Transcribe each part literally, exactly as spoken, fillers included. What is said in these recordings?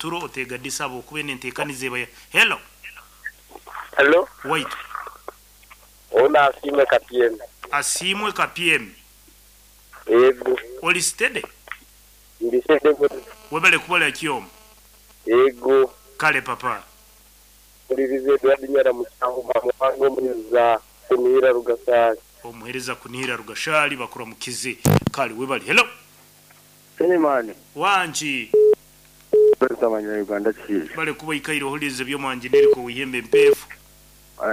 oturo otegadisa abo kuba enenteekaniza eba. Hello. Hello. Waitu. Ona Asiimwe Kapyemi. Asiimwe Kapyemi. Yego. Oli steady? Ndi steady. Webale kubola kyomu. Yego. Kale papa. Ulirize Edward Nyara mucyango muhango muhereza kunihira Rugashari. Omuhereza kunihira Rugashari bakura mukize. Kale webale. Hello. Selemani. Wanji. Perezida wa Uganda chief. Bale kuba ikairo hulize byo mwanjineri ko wihembe mpefu.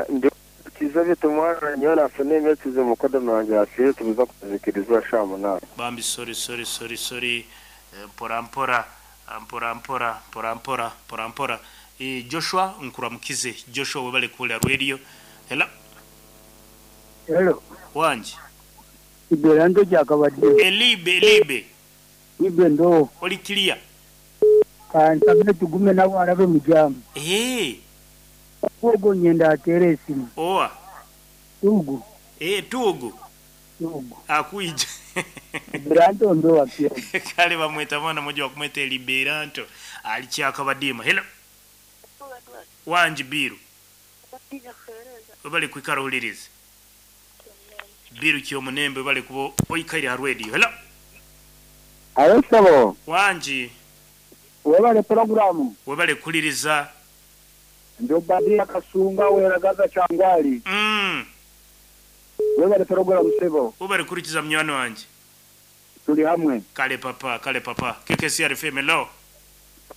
Ndi kiza bitumwana nyona afune metize mukodo wanjye afire tubuza kuzikirizwa shamunana. Bambi sorry sorry sorry sorry mpora mpora mpora mpora mpora mpora mpora mpora. E, Joshua nkuramukize. Joshua webale kula radio. Hello. Hello. Wanji. Iberanto jakabadde. Elibe elibe. Ibe ndo. Oli clear. Kantabire tugume nabo arabe mujamu. Eh. Ogo nyenda atere esimu. Oa. Tugu. Eh tugu. Tugu. Akuija. Liberanto ndo wapia. Kale bamweta mwana mmoja wa kumweta Liberanto. Alichakabadima. Hello. Wanji biru. Bali kwikara hulirize. Biru kyo munembe bali kubo oikaire ha radio. Hello. Ayo sabo. Wanji. Webale programu. Webale kuliriza. Ndio badia kasunga weragaza changwali. Mm. Webale programu sebo. Webale kurikiza mnywano wanje. Tuli hamwe. Kale papa, kale papa. K K C R F M hello.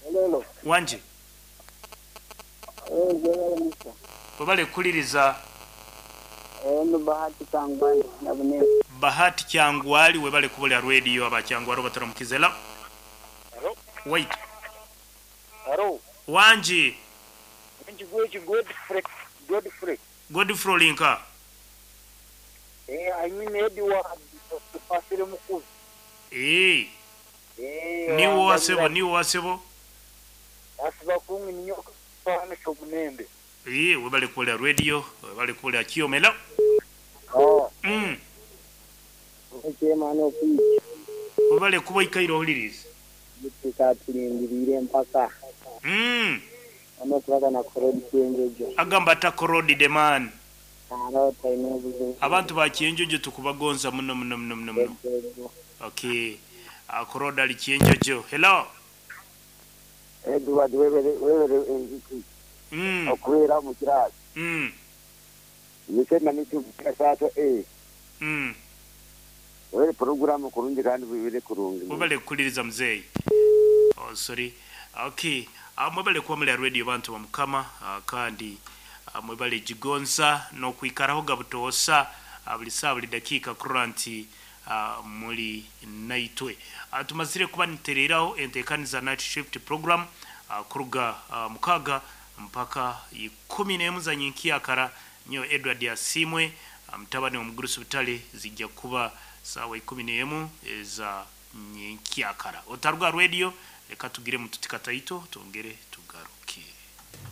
Hello. Wanji. Eh, webale kuliriza. Eh, Bahati Kyangwali nabune. Bahati Kyangwali webale kubola radio aba Kyangwali bataramukizela. Hello. Wait. Hello. Wanji. Wanji gweji Godfrey Godfrey. Godfrey Linka. Eh, I mean Edward Pasire Mukulu. Eh. Eh. Ni wasebo ni wasebo. Asiba kungi ninyoka pana shobunembe. Eh, webale kubola radio, webale kubola kiomela. Oh. Mm. Chema no kuyi. Webale kuba ikairo hulirize. Bitika tulindirire mpaka. Mm. Ano kubaga na korodi kienjojo. Agamba ta korodi the man. Aro taine. Abantu ba kienjojo tukubagonza muno muno muno muno muno. Okay. Akoroda ali kienjojo. Hello. Edward webere webere engiki. Mm. Okwera mu kirasi. Mm. Nise na mitu kasato eh. Mm. Webere programu kurungi kandi bibere kurungi. Webale kuliriza mzee. Oh sorry. Okay. Mwebale kuba muri radio bantu ba mukama kandi mwebale jigonza no kwikaraho gabutosa buli saa buli dakika kuranti muri naitwe. Tumazire kuba nitereraho entekaniza night shift program kuruga mukaga mpaka ikumi n'emu za nyinkiyakara nyo Edward Asimwe mtabani wa Mugurusi Butale zijja kuba sawa ikumi n'emu za nyinkiyakara. Otaruga radio reka tugire mututikataito tongere tugaruke.